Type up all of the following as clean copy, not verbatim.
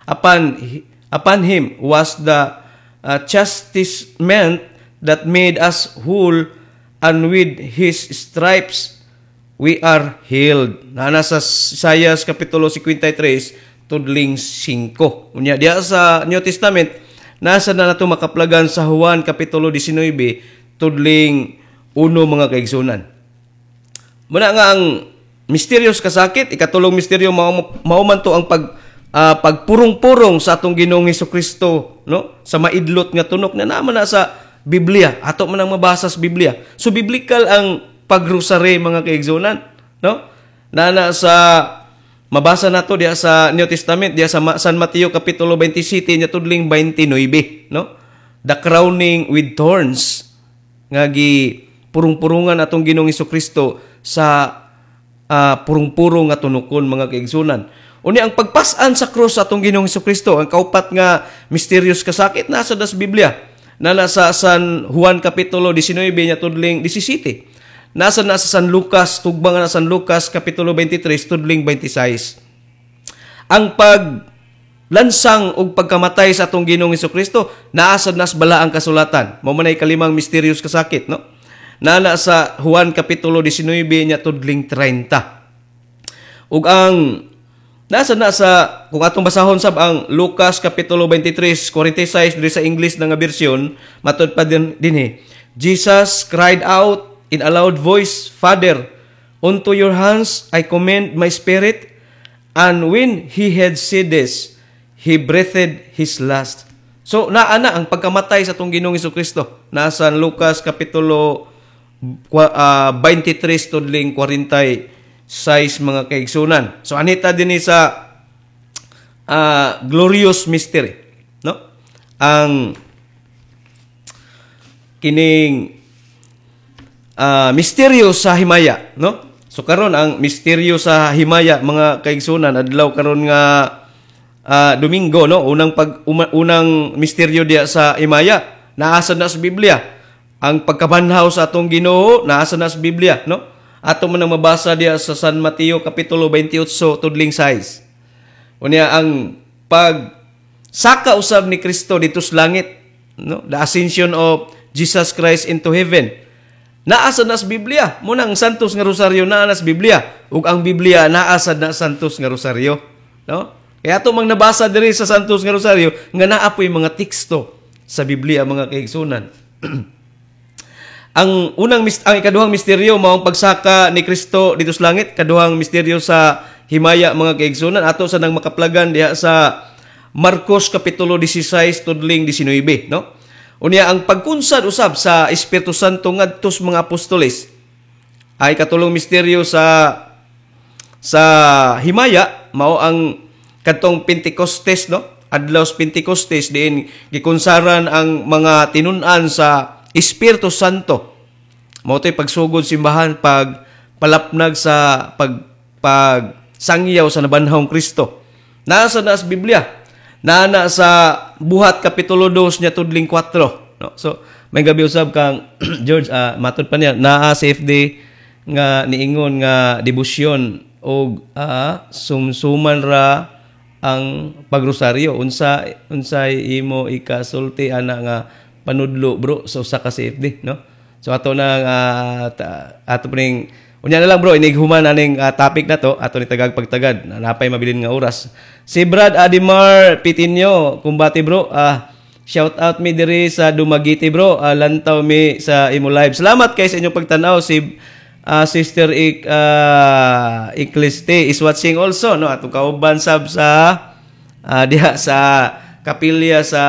Upon him was the chastisement that made us whole, and with his stripes we are healed. Naa sa Isaias kapitulo 53 tudling 5. Unya diha sa New Testament, nasa na nato makaplagan sa Juan kapitulo 19 tudling 1, mga kaigsunan. Muna nga ang mysterious kasakit, ikatulong misteryo, mao man to ang pagpurong-purong sa atong Ginoong Kristo, no, sa maidlot nga tunok na naman na sa Biblia. Ato man ang mabasa sa Biblia. So biblical ang pagrosary, mga kaigsunan, no? Nana sa mabasa nato diha sa New Testament, diha sa San Mateo kapitulo 27 nya tudling 29, no? The crowning with thorns, nga gi purong-purungan atong Ginoong Kristo sa purong-purong nga tunukon, mga kaigsunan. Unya ang pagpasan sa krus sa atong Ginoong Kristo, ang kaupat nga mysterious kasakit, nasa das Biblia. Na nasa San Juan kapitulo 19 nya tudling 17. Nasa na sa San Lucas, tugba nga na San Lucas kapitulo 23 tudling 26. Ang pag lansang og pagkamatay sa atong Ginoong Kristo, naa sad nas balaang kasulatan. Mao man ay kalimang mysterious kasakit, no? Nana sa Juan kapitulo 19 nya tudling 30. Ug ang nasa na sa kung atong basahon sab ang Lucas kapitulo 23 46 diri sa English na nga bersyon, matud pa din dinhi. Jesus cried out in a loud voice, "Father, unto your hands I commend my spirit." And when he had said this, he breathed his last. So naa na ang pagkamatay sa atong Ginoong Kristo. Nasa Lucas kapitulo 23 tudling 46, mga kaigsunan. So anita dinhi sa glorious mystery, no? Ang kining misteryo sa himaya, no? So karon, ang misteryo sa himaya, mga kaigsunan, adlaw karon nga Domingo, no? Unang misteryo diya sa himaya, naa sad na sa Biblia. Ang pagkabanhaw sa atong Ginoo, naa sad na sa Biblia, no? Ato man ang mabasa diya sa San Mateo kapitulo 28 tudling 6. Unya ang pag saka usab ni Kristo dito sa langit, no? The ascension of Jesus Christ into heaven. Naa sad na sa Biblia. Muna ang Santos nga Rosaryo naa na sa Biblia. Ug ang Biblia naa sad na Santos nga Rosaryo, no? Kaya ato mang nabasa diri sa Santos nga Rosaryo nga naa po'y mga teksto sa Biblia, mga kaigsunan. Ang ikaduhang misteryo mao ang pagsaka ni Kristo dito sa langit, kaduhang misteryo sa himaya, mga kaigsunan, ato sa nang makaplagan diha sa Marcos kapitulo 16 tudling 19, no? Unya ang pagkunsad usab sa Espiritu Santo ngadto sa mga apostoles ay katulong misteryo sa himaya, mao ang kadtong Pentecostes, no? Adlaw sa Pentecostes diin gikunsaran ang mga tinun-an sa Espiritu Santo. Mao to'y pagsugod simbahan, pag palapnag sa pag pag sangyaw sa nabanhawng Kristo. Nasa na sa Biblia. Naa sa Buhat kapitulo 2 nya tudling 4, no? So may gabi usab kang George, matud pa niya naa sa FD nga niingon nga debosyon og sumsuman ra ang pagrosaryo. Unsay imo ikasulti ana nga panudlo, bro, sa usa ka CFD, no? So ato na ato ning unya na lang, bro, inig human aning topic na to, ato ni tagag pagtagad napay mabilin nga oras. Si Brad Adimar Pitinio, kumbati, bro. Shout out mi diri sa Dumaguete, bro. Lantaw mi sa imo live. Salamat kay sa inyong pagtan-aw. Si Sister Icliste is watching also, no? Atong kauban sab sa diha sa kapilya sa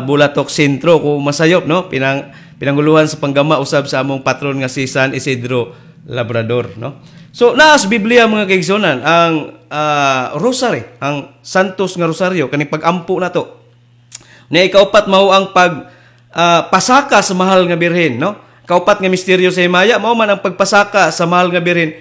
Bulatok Sentro kung masayop, no? Pinanguluhan sa panggama usab sa among patron nga si San Isidro Labrador, no? So naa sa Biblia, mga kaigsunan, ang rosary, ang Santos nga Rosaryo, kaning pagampo nato. Ni ikaupat mao ang pag pasaka sa mahal nga Birhen, no? Kaupat nga misteryo sa himaya mao man ang pagpasaka sa mahal nga Birhen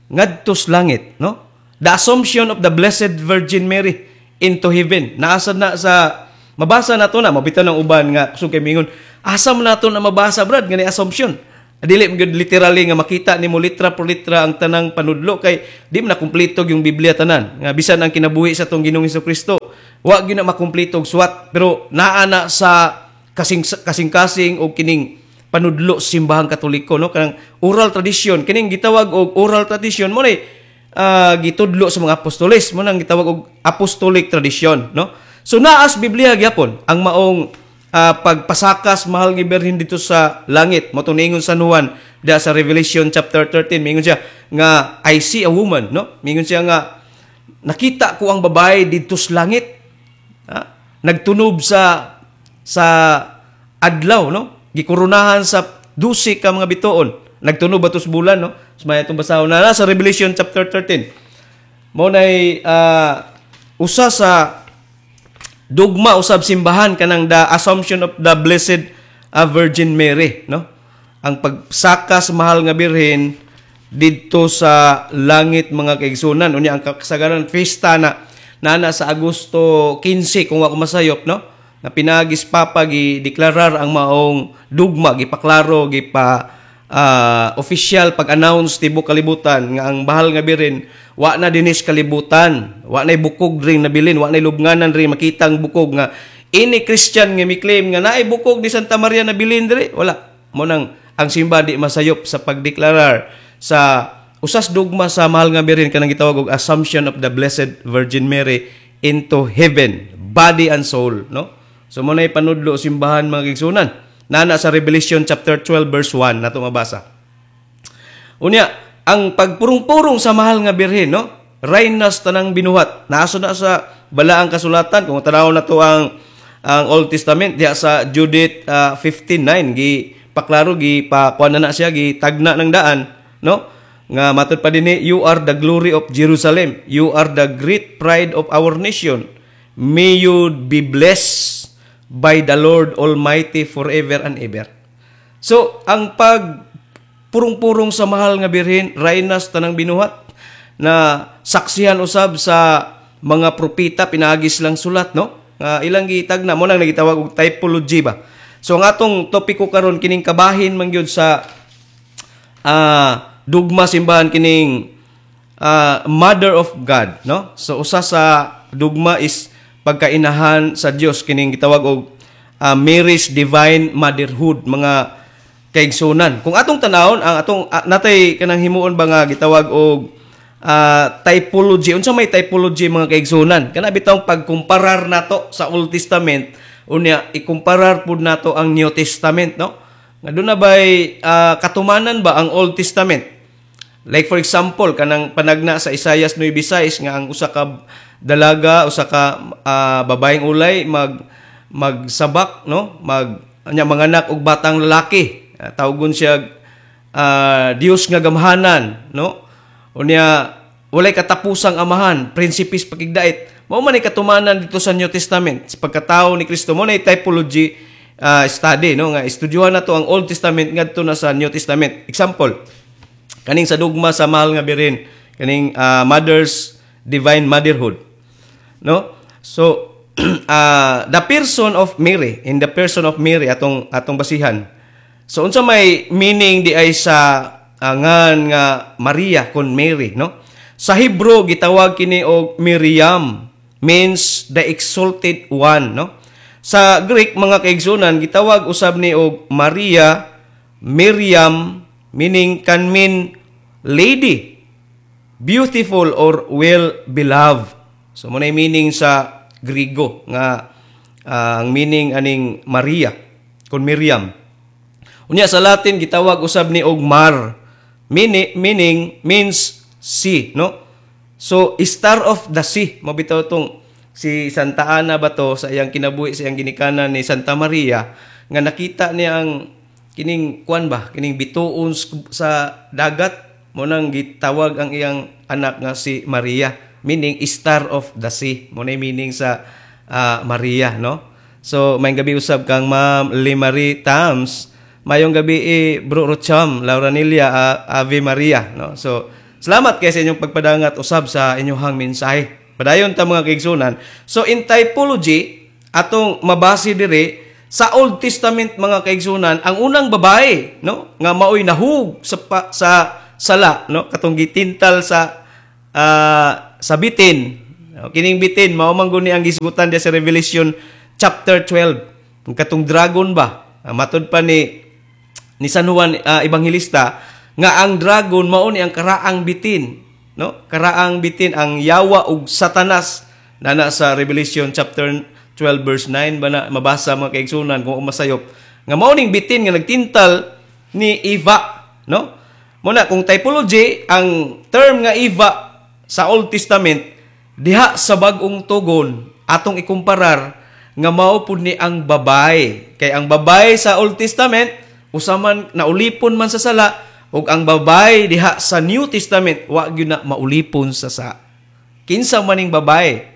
ngadto sa langit, no? The Assumption of the Blessed Virgin Mary into heaven. Naa sad na sa mabasa nato na mabitaw ng uban nga kusog kay mingon, "Asa man nato na mabasa, brad, nga ni assumption?" Dili man gyud literally nga makita nimo litra por litra ang tanang panudlo kay di man na kumpleto yung Biblia tanan. Nga bisan ang kinabuhi sa atong Ginoong Kristo Wa gyud na makumpleto og suwat, pero naa na sa kasing kasing-kasing og kining panudlo sa Simbahang Katoliko, no, kanang oral tradition, kining gitawag og oral tradition mo ni gitudlo sa mga apostoles, mo nang gitawag og apostolic tradition, no? So naas Biblia gyapon ang maong pagpasakas Mahal nga Birhen dito sa langit. Mo ningon San Juan da sa Revelation chapter 13, mingon siya nga, "I see a woman," no? Mingon siya nga nakita ko ang babae didto sa langit. Ha? Nagtunob sa adlaw, no? Gikoronahan sa 12 ka mga bituon. Nagtunob ato sa bulan, no? So, may atong basahon na sa Revelation chapter 13. Mo nay usa sa dugma usab simbahan kanang the Assumption of the Blessed Virgin Mary, no? Ang pagsaka sa Mahal nga Birhen didto sa langit, mga kaigsunan. Unya ang kasagaran fiesta na nana sa Agosto 15, kung ako masayop, no, nga pinagis Papa gi deklarar ang maong dugma, gipaklaro, gipa official pag-announce tibuok kalibutan nga ang Mahal nga Birhen wa na dinis kalibutan, wa na bukog ring nabilin, wa na lubnganan ring makitang bukog, nga ini Christian nga mi-claim nga naay bukog ni Santa Maria nabilin diri, wala. Mo nang ang simba di masayop sa pagdeklarar sa usas dugma sa Mahal nga Birhen, kanang gitawag og Assumption of the Blessed Virgin Mary into heaven, body and soul, no? So mo na panudlo simbahan, mga kaigsunan. Nana sa Revelation chapter 12 verse 1 nato mabasa. Unya, ang pagpurong-purong sa Mahal nga Birhen, no? Raynas tanang binuhat. Naaso na sa balaang kasulatan. Kung tanaw na to ang Old Testament diha sa Judith 15:9, gi paklaro, gi pa kuan na siya, gi tagna ng daan, no, nga matud pa dinhi, "You are the glory of Jerusalem, you are the great pride of our nation. May you be blessed by the Lord Almighty forever and ever." So ang pag purong-purong sa Mahal nga Birhen, raynas tanang binuhat, na saksihan usab sa mga propeta pinaagis lang sulat, no, nga ilang gitagna. Mo nang nagitawag og typology ba. So ang atong topiko karon, kining kabahin man gyud sa dugma simbahan, kining Mother of God, no? So usa sa dugma is pagkainahan sa Dios, kining gitawag og Mary's divine motherhood, mga kaigsunan. Kung atong tanawon ang atong natay kanang himuon ba nga gitawag og typology. Unsa may typology, mga kaigsunan? Kana bitawng pagkumparar nato sa Old Testament, unya ikumparar pud nato ang New Testament, no, nga doon na bay katumanan ba ang Old Testament. Like for example, kanang panagna sa Isaiah 9:6 nga ang usa ka dalaga, usa ka babaeng ulay magsabak, no, mag anya manganak og batang lalaki. Tawgon siya Dios nga gamhanan, no? Unya walay katapusang amahan, Prinsipe pakigdait. Mao man ay katumanan dito sa New Testament sa pagkatao ni Kristo. Mo na typology study, no, nga estudyuhan nato ang Old Testament ngadto na sa New Testament. Example, kaning sa dugma sa Mahal nga Birhen, kaning Mother's divine motherhood, no? So the person of Mary, in the person of Mary atong basihan. So unsa may meaning di ay sa ngan nga Maria kon Mary, no? Sa Hebrew gitawag kini og Miriam, means the exalted one, no? Sa Greek, mga kaigsunan, gitawag usab ni og Maria, Miriam, meaning can mean lady, beautiful or well beloved. So mo na meaning sa Grigo nga ang meaning aning Maria kon Miriam. Unya sa Latin gitawag usab ni og Mar, meaning means sea, no? So star of the sea, mao bitaw tong si Santa Ana ba to sa iyang kinabuhi, sa iyang ginikanan ni Santa Maria, nga nakita niya ang kining kuan ba, kining bituon sa dagat, mo nang gitawag ang iyang anak nga si Maria, meaning star of the sea. Mo na meaning sa Maria, no? So may gabi usab kang Ma'am Limarie Tams. Mayong gabi eh, Bro Rocham, Laura Nilia, Ave Maria, no? So salamat kay sa inyong pagpadangat usab sa inyong mensahe. Padayon ta, mga kaigsunan. So in typology, atong mabase diri sa Old Testament, mga kaigsunan, ang unang babae, no, nga maoy nahug sa sala, no, katong gitintal sa bitin. No, kining bitin mao man guni ang gisgutan diya sa Revelation chapter 12. Ang katong dragon ba? Matud pa ni San Juan Evangelista nga ang dragon mao ni ang karaang bitin, no? Karaang bitin, ang yawa ug Satanas, nana sa Revelation chapter 12 verse 9 ba na mabasa, mga kaigsunan, kung masayop nga mao ning bitin nga nagtintal ni Eva, no? Mo na kung typology, ang term nga Eva sa Old Testament, diha sa Bag-ong Tugon atong ikumparar nga mao pud ni ang babae, kay ang babae sa Old Testament usa man naulipon man sa sala, ug ang babae diha sa New Testament wa gyud na maulipon sa sa. Kinsa maning babae?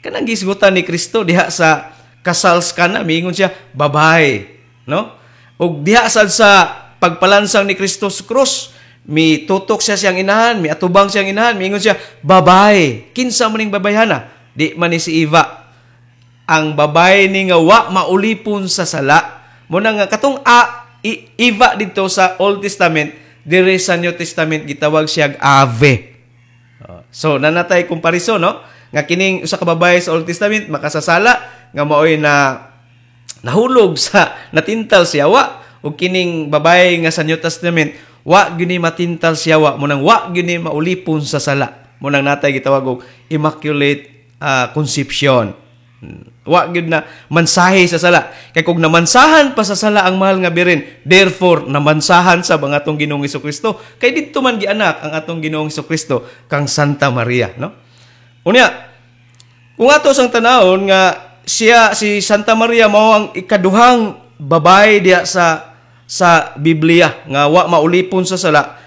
Kanang gisgutan ni Kristo diha sa kasal sa Kana, miingon siya, "Babae," no? Ug diha sad sa pagpalansang ni Kristo sa krus, mi tutok siya siyang inahan, mi atubang siyang inahan, miingon siya, "Babae." Kinsa maning babayhana? Di man ni si Eva. Ang babae ni nga wa maulipon sa sala. Mo na nga katong Eva dito sa Old Testament, dire sa New Testament gitawag siya Ave. So nanatay comparison, no? Nga kining usa ka babae sa Old Testament makasasala nga maoy na nahulog sa natintal siya wa, ug kining babae nga sa New Testament wa gyud ni matintal siya wa, mo nang wa gyud ni maulipon sa sala. Mo nang natay gitawag og Immaculate Conception. Wa gyud na mansahe sa sala. Kay kung namansahan pa sa sala ang mahal nga Birhen, therefore namansahan sa mga atong Ginoong Kristo. Kay didto man gianak ang atong Ginoong Kristo kang Santa Maria, no? Unya, kung ato sang tanawon nga siya si Santa Maria mao ang ikaduhang babae diha sa Biblia nga wa maulipon sa sala.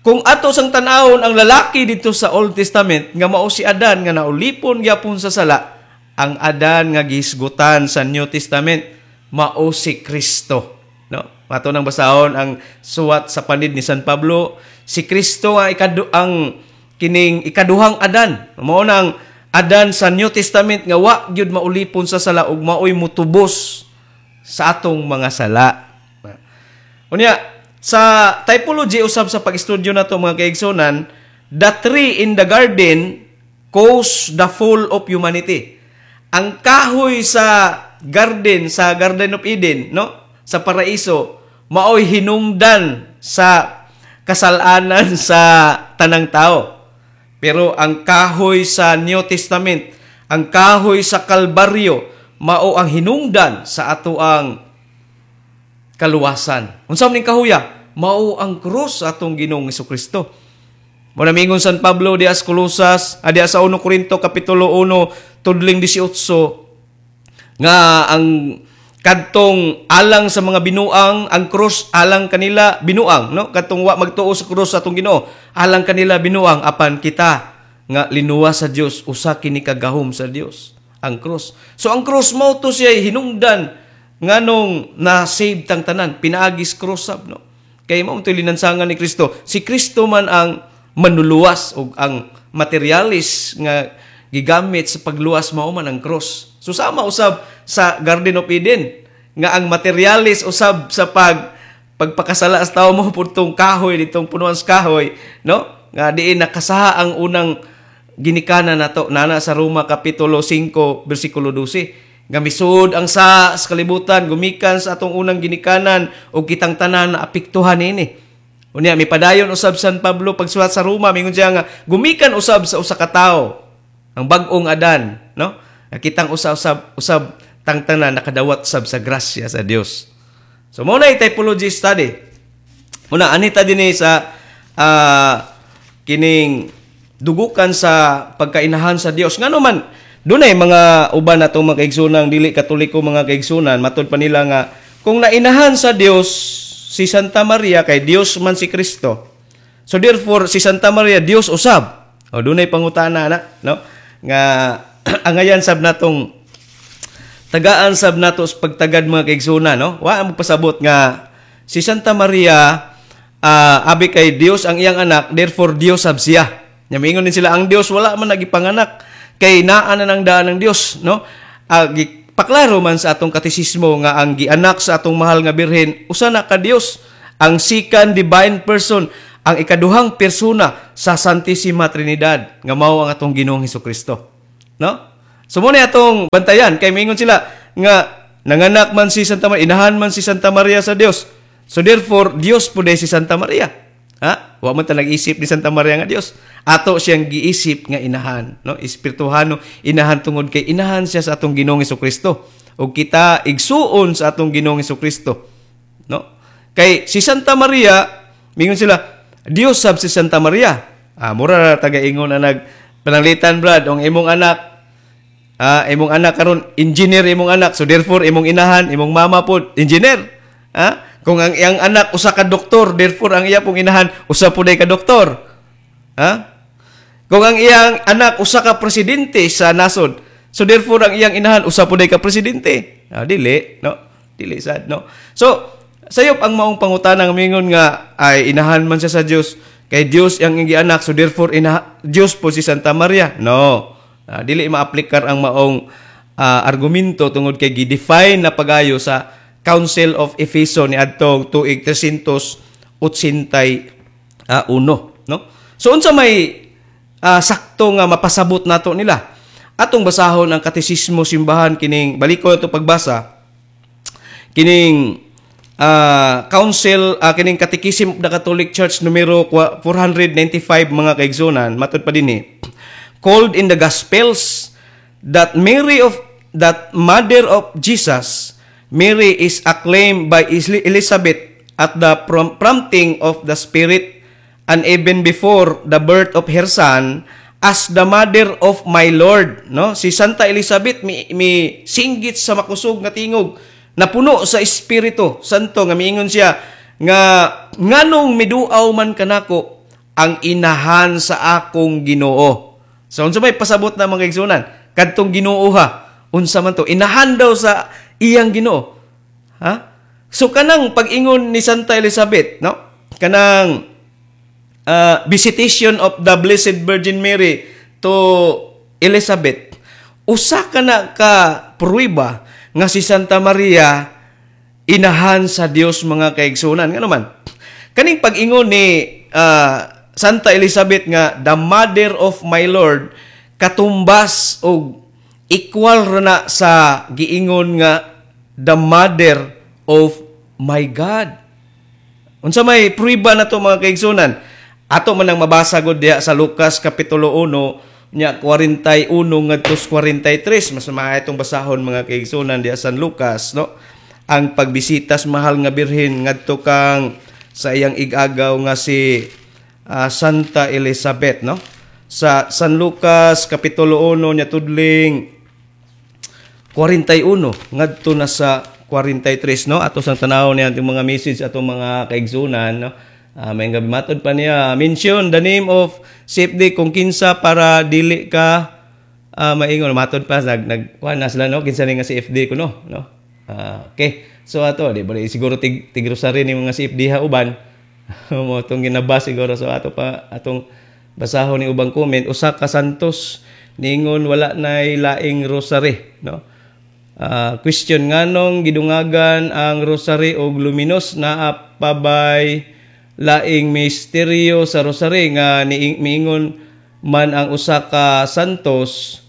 Kung ato sang tan-awon ang lalaki dito sa Old Testament nga mao si Adan nga naulipon gyapon sa sala, ang Adan nga gihisgutan sa New Testament mao si Kristo, no? Ato nang basahon ang suwat sa panid ni San Pablo, si Kristo nga ang kining ikaduhang Adan. Mao nang Adan sa New Testament nga wa gyud maulipon sa sala ug maoy mutubos sa atong mga sala. Unya, sa typology usab sa pag-estudyo nato, mga kaigsunan, the tree in the garden caused the fall of humanity. Ang kahoy sa garden, sa Garden of Eden, no? Sa paraiso, maoy hinungdan sa kasalanan sa tanang tao. Pero ang kahoy sa New Testament, ang kahoy sa Kalbaryo, mao ang hinungdan sa ato ang kaluwasan. Unsa man ning kahuya? Mao ang krus sa atong Ginoong Kristo. Mo na mingon San Pablo diha sa Colosas, diha sa 1 Corinto kapitulo 1 tudling 18 nga ang kadtong alang sa mga binuang, ang krus alang kanila binuang, no? Kadtong wa magtuo sa krus sa atong Ginoo, alang kanila binuang, apan kita nga linuwas sa Dios, usa kini kagahom sa Dios ang krus. So ang krus mao to siya hinungdan nganong na-save tang tanan pinaagis krus sab, no? Kay mao to linansangan ni Kristo. Si Kristo man ang manuluwas ug ang materialis nga gigamit sa pagluwas mao man ang krus. So sama usab sa Garden of Eden nga ang materialis usab sa pagpakasala sa tao mo putong kahoy ditong punuan sa kahoy, no? Nga diin nakasaha ang unang ginikanan nato, nana sa Roma kapitulo 5 bersikulo 12 nga misud ang sa kalibutan gumikan sa atong unang ginikanan ug kitang tanan na apektuhan niini. Unya mipadayon usab San Pablo pagsuwat sa Roma, mingon siya nga gumikan usab sa usa ka tawo ang bag-ong Adan, no? Nga kitang usa usab usab tang tanan nakadawat sab sa grasya sa Dios. So mao na typology study. Muna anita dinhi sa kining dugukan sa pagkainahan sa Dios. Ngano man dunay mga uban natong mga kaigsunan dili Katoliko, mga kaigsunan, matud pa nila nga kung nainahan sa Dios si Santa Maria kay Dios man si Kristo. So therefore si Santa Maria Dios usab. O dunay pangutana na, no? Nga angayan sab natong tagaan sab nato sa pagtagad, mga kaigsunan, no? Wa ang pasabot nga si Santa Maria, abi kay Dios ang iyang anak, therefore Dios sab siya. Nya miingon din sila, ang Dios wala man nagipanganak kay naa na nang daan ng Dios, no? Paklaro man sa atong katesismo nga ang gianak sa atong mahal nga Birhen usa na ka Dios, ang second divine person, ang ikaduhang persona sa Santissima Trinidad nga mao ang atong Ginoong Kristo. No? So mo na atong bantayan kay mingon sila nga nanganak man si Santa Maria, inahan man si Santa Maria sa Dios. So therefore, Dios pud si Santa Maria. Ha? Wa man ta nag-isip ni Santa Maria nga Dios. Ato siyang giisip nga inahan, no? Espirituhano inahan tungod kay inahan siya sa atong Ginoong Kristo. Ug kita igsuon sa atong Ginoong Kristo, no? Kay si Santa Maria, mingon sila, Dios sab si Santa Maria. Ah, mura ra taga-ingon na nag pananglitan, brad, ang imong anak, imong anak karon engineer imong anak, so therefore imong inahan, imong mama pod engineer. Kung ang iyang anak usa ka doktor, therefore ang iya pong inahan usa pud ka doktor. Ha? Kung ang iyang anak usa ka presidente sa nasod, so therefore ang iyang inahan usa pud ka presidente. Ah, dili, no? Dili sad, no? So, sayop ang maong pangutana nga mingon nga ay inahan man siya sa Dios, kay Dios ang iyang anak, so therefore ina Dios po si Santa Maria. No. Dili maaplikar ang maong argumento tungod kay gi-define na pagayo sa Council of Efeso ni adtong tuig 381, no? So unsa may sakto nga mapasabot nato nila? Atong basahon ang Katesismo Simbahan kining baliko ato pagbasa kining council, kining Catechism of the Catholic Church numero 495, mga kaigsunan. Matud pa dinhi, called in the Gospels that Mary of that mother of Jesus. Mary is acclaimed by Elizabeth at the prompting of the Spirit and even before the birth of her son as the mother of my Lord, no? Si Santa Elizabeth mi singgit sa makusog nga tingog, napuno sa Espiritu Santo, nga miingon siya nga nganong miduaw man kanako ang inahan sa akong Ginoo. So unsa may pasabot na, mga igsunan, kadtong Ginoo ha? Unsa man to? Inahan daw sa iyang Ginoo, ha? So kanang pag-ingon ni Santa Elizabeth, no, kanang visitation of the Blessed Virgin Mary to Elizabeth, usa ka na ka pruweba nga si Santa Maria inahan sa Dios, mga kaigsunan. Ngano man kaning pag-ingon ni Santa Elizabeth nga "the mother of my Lord" katumbas og equal ra na sa giingon nga "the mother of my God"? Unsa may pruweba na to, mga kaigsunan? Ato man ang mabasa gud diha sa Lucas kapitulo 1 nya 41 ngadto 43. Mas maayo itong basahon, mga kaigsunan, diha San Lucas, no? Ang pagbisita sa mahal nga Birhen ngadto kang sa iyang igagaw nga si Santa Elizabeth, no? Sa San Lucas kapitulo 1 nya tudling 41 ngadto na sa 43, no? Ato sang tanaw niya atong mga message, atong mga kaigsunan, no? May gabi, matod pa niya, mention the name of CFD kung kinsa para dili ka maingon. Matod pa nag nag kuan na sila, no, kinsa ni nga CFD ko, no. Okay, so ato di ba siguro tig tig rosary ni mga CFD ha uban mo atong ginabas siguro. So ato pa atong basahon ni ubang comment. Usa ka Santos ningon wala nay laing rosary, no? Question, nganong gidungagan ang rosary og luminous? Naa pa bay laing misteryo sa rosary nga ni miingon man ang usa ka santos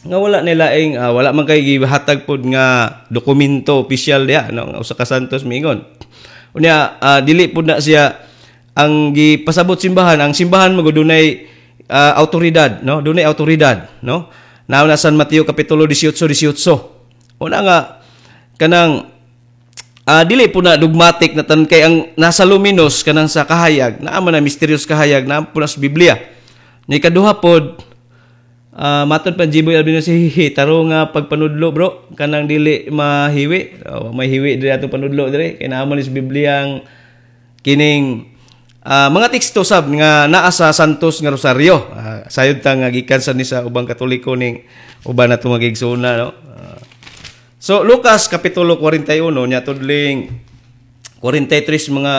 nga wala nila laing? Wala man kay gihatag pod nga dokumento opisyal diha, no, nga usa ka santos miingon. Unya dili pod na siya ang gipasabot simbahan. Ang simbahan magud dunay autoridad, no? Dunay autoridad, no? Naa na San Mateo kapitulo 18 18. Una nga kanang dili po na dogmatic na tan kay ang nasa luminous kanang sa kahayag, naa man na mysterious kahayag, naa po na sa Biblia. Ni kaduha pod, matod pa Jiboy Albino si hihi taro nga pagpanudlo, bro, kanang dili mahiwi. Oh, may hiwi diri atong panudlo diri kay naa man sa Biblia ang kining mga teksto sab nga naa sa Santos nga Rosario. Sayod ta nga gikan sa ni sa ubang Katoliko ning uban nato mga igsoona, no? So Lucas kapitulo 41 nya tudling 43, mga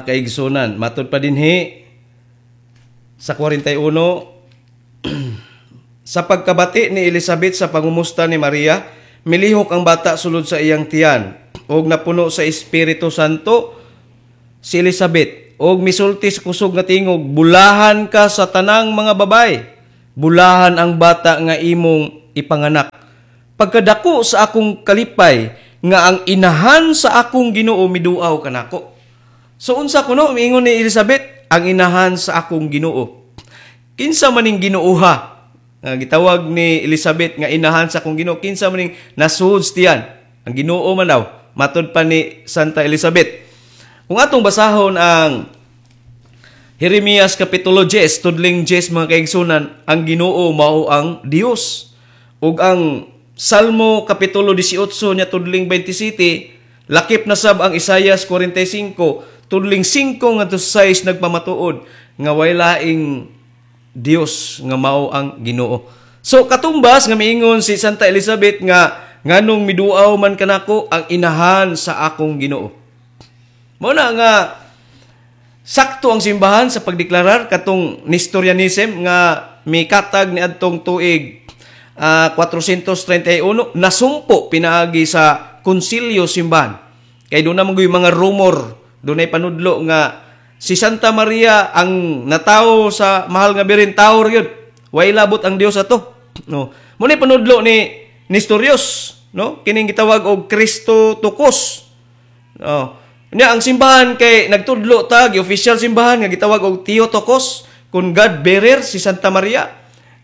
kaigsunan. Matod pa dinhi sa 41, sa pagkabati ni Elizabeth sa pangumusta ni Maria, milihok ang bata sulod sa iyang tiyan ug napuno sa Espiritu Santo si Elizabeth ug misulti sa kusog nga tingog, "Bulahan ka sa tanang mga babay." Bulahan ang bata nga imong ipanganak. Pagkadako sa akong kalipay nga ang inahan sa akong Ginoo miduaw kanako. So unsa kuno miingon ni Elizabeth, ang inahan sa akong Ginoo? Kinsa maning Ginooha nga gitawag ni Elizabeth nga inahan sa akong Ginoo? Kinsa maning nasuod tiyan? Ang Ginoo man daw, matod pa ni Santa Elizabeth. Kung atong basahon ang Jeremias kapitulo 10, tudling 10, mga kaigsunan, ang Ginoo mao ang Dios. Ug ang Salmo kapitulo 18 nya tudling 27, lakip na sab ang Isayas 45 tudling 5 ngadto 6, nagpamatuod nga way laing Dios nga mao ang Ginoo. So katumbas nga miingon si Santa Elizabeth nga nganong miduaw man kanako ang inahan sa akong Ginoo. Mao na nga sakto ang simbahan sa pagdeklarar katong Nestorianism nga mikatag ni adtong tuig 431, nasumpo pinaagi sa konsilyo simbahan. Kay doon naman mga rumor, dunay panudlo nga si Santa Maria ang natawo sa mahal nga Birhen, tawo gyud. Way labot ang Dios ato. No. Mo ni panudlo ni Nestorius, no? Kining gitawag og Christotokos. No. Nya ang simbahan kay nagtudlo ta, official simbahan nga gitawag og Theotokos, kun God bearer si Santa Maria.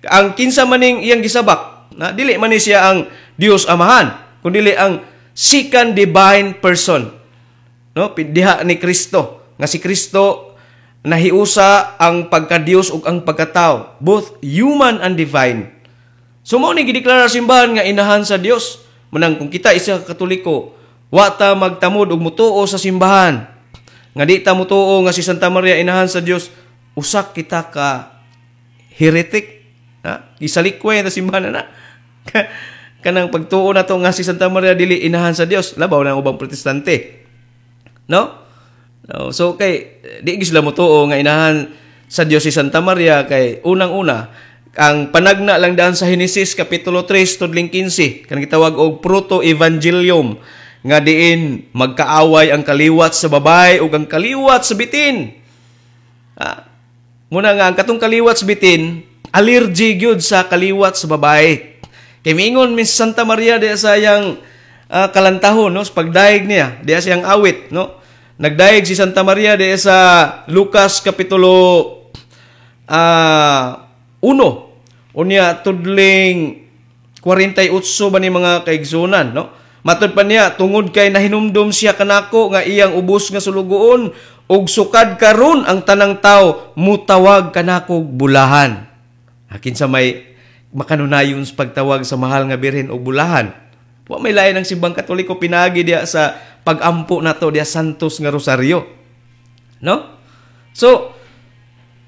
Ang kinsa maning iyang gisabak, na dili man ni siya ang Dios Amahan, kun dili ang second divine person. No, diha ni Kristo, nga si Kristo nahiusa ang pagka-Dios ug ang pagkatao, both human and divine. So mao ni gideklara simbahan nga inahan sa Dios. Manang kung kita isa ka Katoliko, wa ta magtamod og mutuo sa simbahan nga di ta mutuo nga si Santa Maria inahan sa Dios, usak kita ka heretic. Ha? Isalikway na simbahan na. Kanang pagtuo na to nga si Santa Maria dili inahan sa Dios, labaw na ang ubang Protestante. No? No, so kay di gyud sila mutuo nga inahan sa Dios si Santa Maria kay unang-una ang panagna lang daan sa Henesis kapitulo 3 tudling 15, kanang gitawag og proto-evangelium, nga diin magkaaway ang kaliwat sa babae ug ang kaliwat sa bitin. Ah, muna nga ang katong kaliwat sa bitin allergy gyud sa kaliwat sa babae. Kay miingon Miss Santa Maria diya sa iyang kalantahon, no, sa pagdayeg niya diya sa iyang awit, no. Nagdayeg si Santa Maria diya sa Lucas kapitulo 1 unya tudling 48 ba ni, mga kaigsunan, no? Matod pa niya, tungod kay nahinumdum siya kanako nga iyang ubos nga sulugoon, ug sukad karon ang tanang tao mutawag kanako bulahan. Akin sa may makanunayon sa pagtawag sa mahal nga Birhen og bulahan? Wa may lain ang Simbang Katoliko pinagi diya sa pagampo nato diya Santos nga Rosaryo. No? So,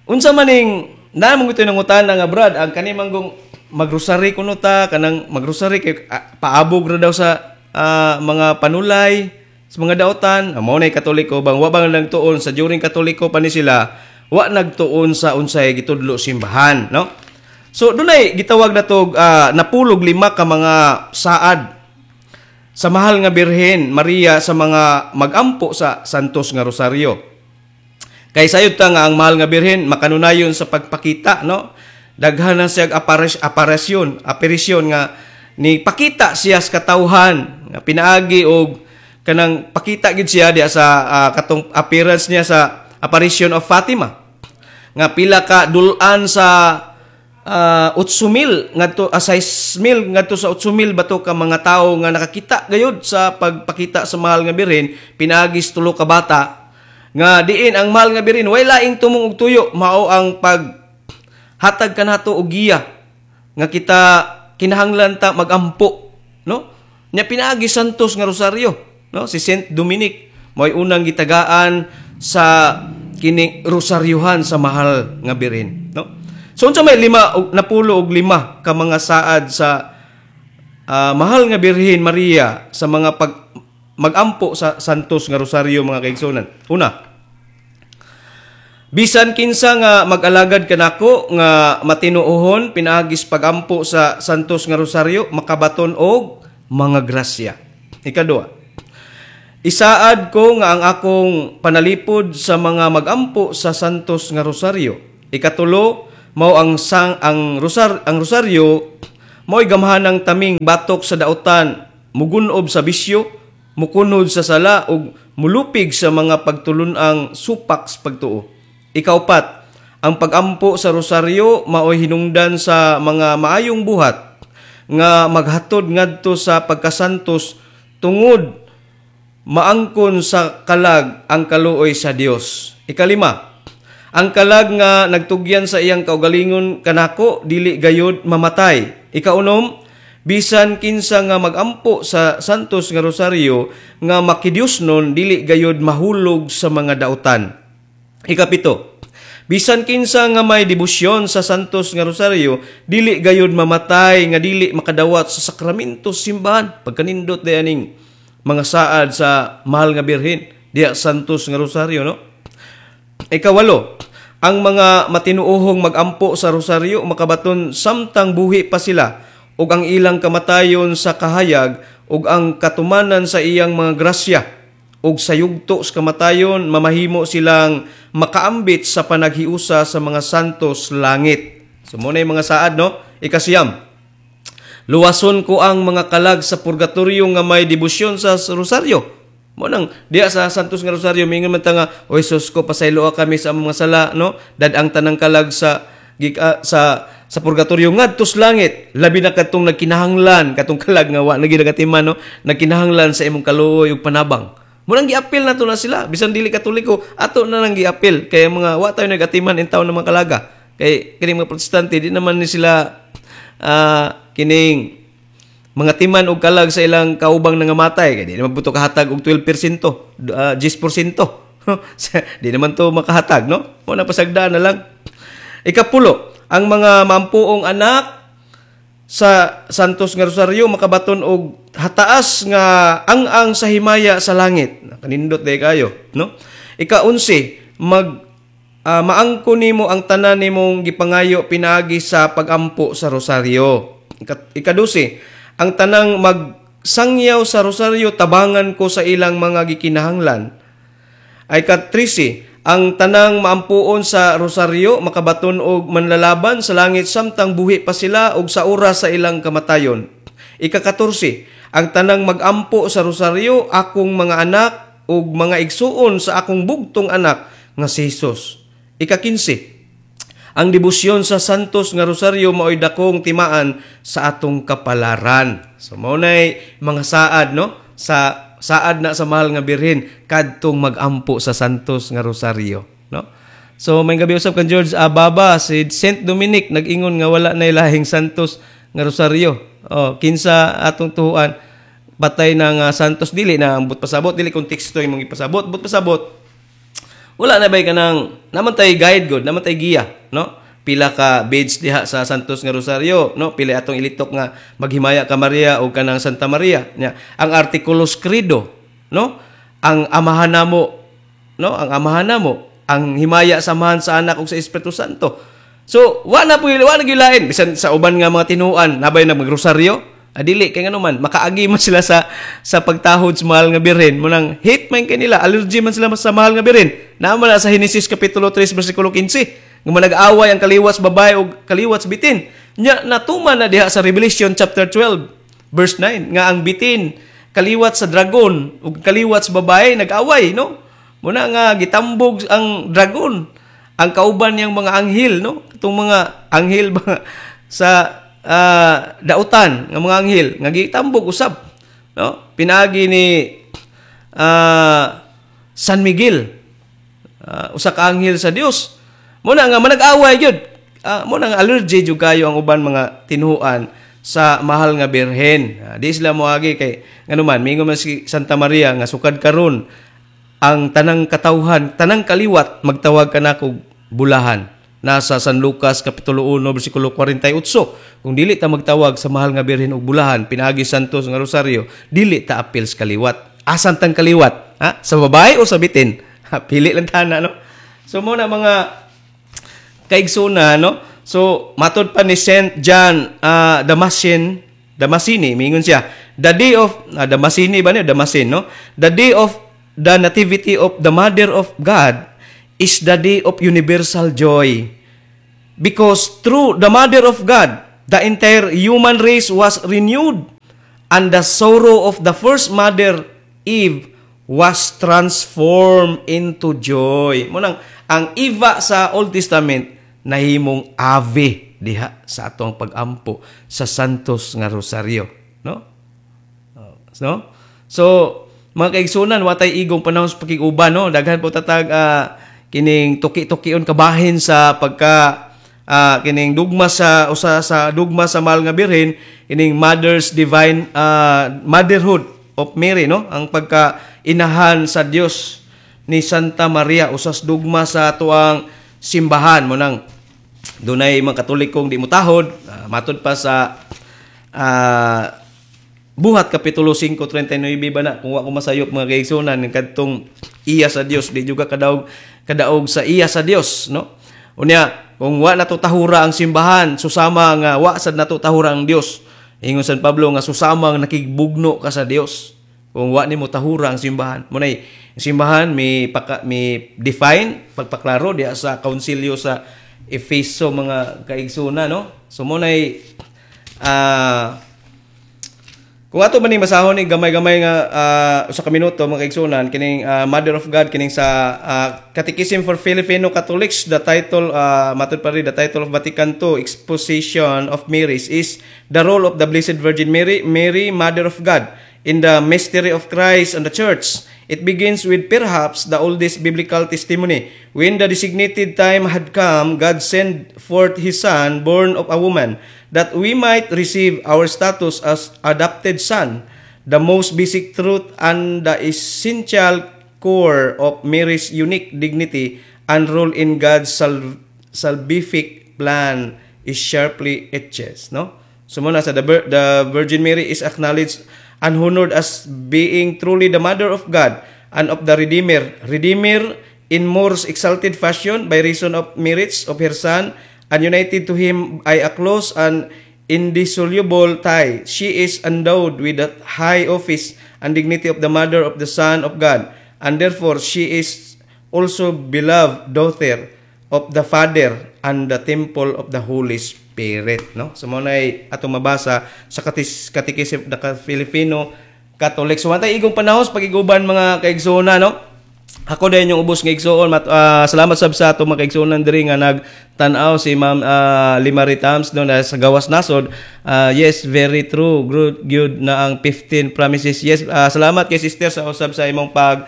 unsa maning na mong ito nangutana nga, "Brad, ang kani manggong magrosary kuno ta, kanang magrosary kay paabog ra daw sa mga panulay, sa mga daotan." Mao nay Katoliko bang wa bang nagtuon sa during Katoliko pa ni sila, wa nagtuon sa unsay gitudlo simbahan, no? So dunay gitawag na to 95 ka mga saad sa mahal nga Birhen Maria sa mga magampo sa Santos nga Rosaryo. Kay sayod ta nga ang mahal nga Birhen makanunayon sa pagpakita, no? Daghan na siya aparisyon nga ni pakita siya sa katawhan nga pinaagi og kanang pakita gid siya diya sa katong appearance niya sa apparition of Fatima nga pila ka dulan sa 8,000 ngadto 6,000 ngadto sa 8,000 bato ka mga tawo nga nakakita gayud sa pagpakita sa mahal nga Birhen pinaagi sa tulo ka bata, nga diin ang mahal nga Birhen way laing tumong og tuyo, mao ang pag hatag kanato og giya nga kita kinahanglan ta magampo, no? Nya pinaagi Santos nga Rosaryo, no? Si Saint Dominic mo'y unang gitagaan sa kining rosaryuhan sa mahal nga Birhen, no? So unsa may lima og 95 ka mga saad sa mahal nga Birhen Maria sa mga pag magampo sa Santos nga Rosaryo, mga kaigsunan? Una, bisan kinsa nga mag-alagad kanako nga matinuohon pinaagis pagampo sa Santos nga Rosaryo makabaton og mga grasya. Ikaduha, isaad ko nga ang akong panalipod sa mga magampo sa Santos nga Rosaryo. Ikatulo, Mao ang sang ang rosar ang rosaryo mao'y gamhanang taming batok sa dautan, mugunob sa bisyo, mukunod sa sala ug mulupig sa mga pagtulun-ang supak sa pagtuo. Ikaupat, ang pagampo sa rosaryo mao'y hinungdan sa mga maayong buhat nga maghatod ngadto sa pagkasantos tungod maangkon sa kalag ang kaluoy sa Dios. Ikalima, ang kalag nga nagtugyan sa iyang kaugalingon kanako dili gayud mamatay. Ikaunom, bisan kinsa nga magampo sa Santos nga Rosaryo nga makidiyosnon dili gayud mahulog sa mga dautan. Ikapito, bisan kinsa nga may debosyon sa Santos nga Rosaryo dili gayud mamatay nga dili makadawat sa sakramento sa simbahan. Pagkanindot day aning mga saad sa mahal nga Birhen diya Santos nga Rosaryo, no? Ikawalo, ang mga matinuohong magampo sa rosaryo makabaton samtang buhi pa sila ug ang ilang kamatayon sa kahayag ug ang katumanan sa iyang mga grasya ug sa yugto sa kamatayon mamahimo silang makaambit sa panaghiusa sa mga santos langit. So mo na yung mga saad, no? Ikasiyam, luwason ko ang mga kalag sa purgatorio nga may debosyon sa rosaryo. Mo nang diya sa Santos nga Rosaryo mingon man ta nga, "Oy Sus ko, pasayloa kami sa among mga sala," no? Dad ang tanang kalag sa gika, sa purgatorio ngadto sa langit, labi na kadtong nagkinahanglan, katong kalag nga wa na gyud nagatiman, no, nagkinahanglan sa imong kaluoy ug panabang. Mo nang giapil nato na sila bisan dili Katoliko, ato na nang giapil kay mga wa tayo nagatiman in taon ng mga kalaga, kay kining mga Protestante di naman ni sila kining mga timan og kalag sa ilang kaubang nangamatay, kay di naman buto kahatag og 12%, 10%. Di naman to makahatag, no? Mo na pasagdaan na lang. Ikapulo, ang mga mampuong anak sa Santos nga Rosaryo makabaton og hataas nga ang-ang sa himaya sa langit. Kanindot day kayo, no? Ika-11, mag maangko nimo ang tanan nimong gipangayo pinaagi sa pagampo sa rosaryo. Ika-12, ang tanang magsangyaw sa rosaryo tabangan ko sa ilang mga gikinahanglan. Ay ka-13, ang tanang maampuon sa rosaryo makabaton og manlalaban sa langit samtang buhi pa sila og sa oras sa ilang kamatayon. Ika-14, ang tanang magampo sa rosaryo akong mga anak ug mga igsuon sa akong bugtong anak nga si Jesus. Ika-15, ang debosyon sa Santos nga Rosaryo maoy dakong timaan sa atong kapalaran. So mao nay mga saad, no, sa saad na sa mahal nga Birhen kadtong magampo sa Santos nga Rosaryo, no? So may gabi usab kan George Ababa, si Saint Dominic nag-ingon nga wala na lahing Santos nga Rosaryo. Oh, kinsa atong tuhuan, patay na nga Santos dili na ang but pasabot, dili konteksto imong ipasabot, but pasabot wala na bay kanang naman tay guide god, naman tay giya, no? Pila ka beads diha sa Santos nga Rosaryo, no? Pila atong ilitok nga maghimaya ka Maria o kanang Santa Maria nya, ang Articulus Credo, no? Ang Amahan namo, no? Ang Amahan namo, ang himaya sa Amahan, sa Anak ug sa Espiritu Santo. So wa na po, wa na gilain bisan sa uban nga mga tinuan nabay na magrosaryo. Adili kay ngano man makaagi man sila sa pagtahod sa mahal nga Birhen. Mo nang hate man kay nila, allergy man sila sa mahal nga Birhen. Naa man na sa Henesis kapitulo 3 bersikulo 15 nga nag-away ang kaliwat sa babae ug kaliwat sa bitin. Nya natuman na diha sa Revelation chapter 12 verse 9 nga ang bitin kaliwat sa dragon ug kaliwat sa babae nag-away, no? Muna nga gitambog ang dragon ang kauban niyang mga anghel, no? Itong mga anghel ba sa dautan nga mga anghel nga gitambog usab, no, pinaagi ni San Miguel, usa ka anghel sa Dios. Mo na nga manag-away gyud. Mo na nga allergy jud kayo ang uban mga tinuan sa mahal nga Birhen. Di sila moagi kay ngano man mingon man si Santa Maria nga sukad karon ang tanang katawhan, tanang kaliwat magtawag kanako bulahan. Nasa San Lucas kapitulo 1 bersikulo 48. Kung dili ta magtawag sa mahal nga Birhen og bulahan pinaagi Santos nga Rosaryo, dili ta apil sa kaliwat. Asan tang kaliwat? Ha? Sa babae o sa bitin? Ha, pili lang tana, no? So mo na mga kaigsuna, no? So matod pa ni Saint John Damascene, Damascene, mingon siya, the day of Damascene ba niyo? Damascene, no? The day of the nativity of the Mother of God is the day of universal joy. Because through the Mother of God, the entire human race was renewed, and the sorrow of the first mother, Eve, was transformed into joy. Mao nang ang Eva sa Old Testament nahimong Ave diha sa atong pagampo sa Santos nga Rosario, no? No? So, mga kaigsunan, watay igong panahon sa pakig-uban, no? Daghan po tatag kining tuki-tukion kabahin sa pagka kining dugma sa usa sa dugma sa Mahal nga Birhen, kining Mother's Divine Motherhood of Mary, no? Ang pagka inahan sa Dios ni Santa Maria, usas dugma sa atuang simbahan. Mao nang dunay mga Katolikong di mutahod, matud pa sa Buhat Kapitulo 5:39 ba na, kung wa ko masayop, mga kaigsunan, kadtong iya sa Dios di juga kadaog kadaog sa iya sa Dios, no? Unya kung wa nato tahura ang simbahan, susama nga wa sad nato tahura ang Dios. Ingon San Pablo nga susama nga nakigbugno ka sa Dios kung wa nimo tahura ang simbahan. Mao nay simbahan mi paka, mi define, pagpaklaro diha sa Kaunsilyo sa Efeso, mga kaigsunan, no? So mao nay kung ato man ning basahon ni gamay-gamay nga usa ka minuto, mga kaigsunan, kining Mother of God, kining sa Catechism for Filipino Catholics, the title, matud pa rin, the title of Vatican II Exposition of Mary's is the role of the Blessed Virgin Mary, Mary, Mother of God, in the mystery of Christ and the Church. It begins with perhaps the oldest biblical testimony. When the designated time had come, God sent forth His Son, born of a woman, that we might receive our status as adopted son. The most basic truth and the essential core of Mary's unique dignity and role in God's salvific plan is sharply etched, no? So mao na sa the Virgin Mary is acknowledged and honored as being truly the Mother of God and of the Redeemer. Redeemer in more exalted fashion by reason of merits of her Son and united to him by a close and indissoluble tie. She is endowed with the high office and dignity of the Mother of the Son of God, and therefore she is also beloved daughter of the Father and the temple of the Holy Spirit, no? So mao nay atong mabasa sa Catechism of the Filipino Catholic. So watay igong panahon sa pagiguban, mga kaigsoona, no? Ako din yung ubos nga igsoon. Salamat sab sa atong mga kaigsuonan diri nga nagtan-aw, si Ma'am Limari Tams, no, na sa gawas nasod. Yes, very true. Good, good na ang 15 promises. Yes, salamat kay sister sa usab sa imong pag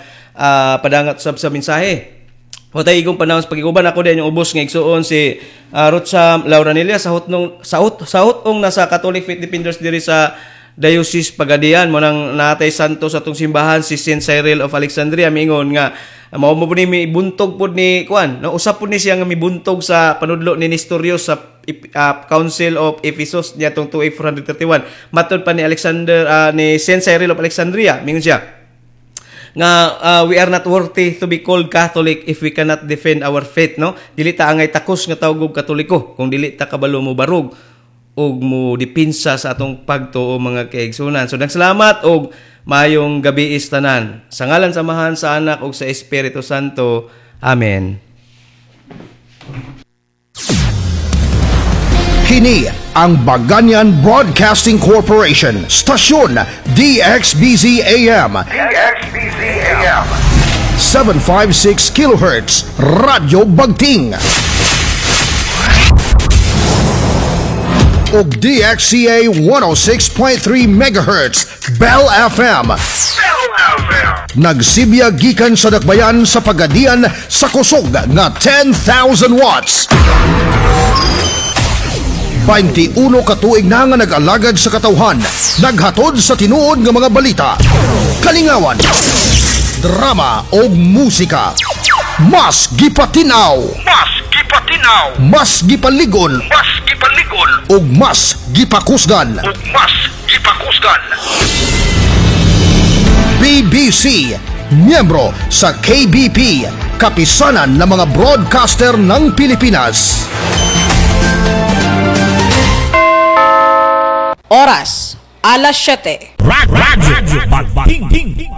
padangat usab sa mensahe. Watay igong panahon sa pagiguban. Ako din yung ubos nga igsuon, si Rotsam Lauranilla sa hutnong sa hut sa hutong nasa Catholic Faith Defenders diri sa Diocese Pagadian. Mao nang natay santo sa atong simbahan, si Saint Cyril of Alexandria. Mingon nga mao mo ni mibuntog pod ni kuan, no? Usab pod ni siya nga mibuntog sa panudlo ni Nestorius sa Council of Ephesus niadtong 431. Matod pa ni Alexander ni Saint Cyril of Alexandria, mingon siya nga we are not worthy to be called Catholic if we cannot defend our faith, no? Dili ta angay takos nga tawag og Katoliko kung dili ta kabalo mo barog ug mo dipinsa sa atong pagtuo, mga kaigsunan. So daghang salamat og maayong gabi tanan. Sa ngalan sa Amahan, sa Anak ug sa Espiritu Santo. Amen. Kini ang Baganian Broadcasting Corporation, Stasyon DXBZ AM, DXBZ AM. 756 kHz, Radyo Bagting. Ug DXCA 106.3 MHz, Bell FM. Bell FM. Nagsibya gikan sa dakbayan sa Pagadian sa kusog nga 10,000 watts. 21 katuig na nga nag-alagad sa katawhan, naghatod sa tinuod nga mga balita, kalingawan, drama o musika. Mas gipatinaw, Mas gipatinaw. Mas gipaligon Mas gipaligon. Ug mas gipakusgan. Ug mas gipakusgan. BBC, miyembro sa KBP, Kapisanan ng mga Broadcaster ng Pilipinas. Oras, alas 7. Radyo Bagting.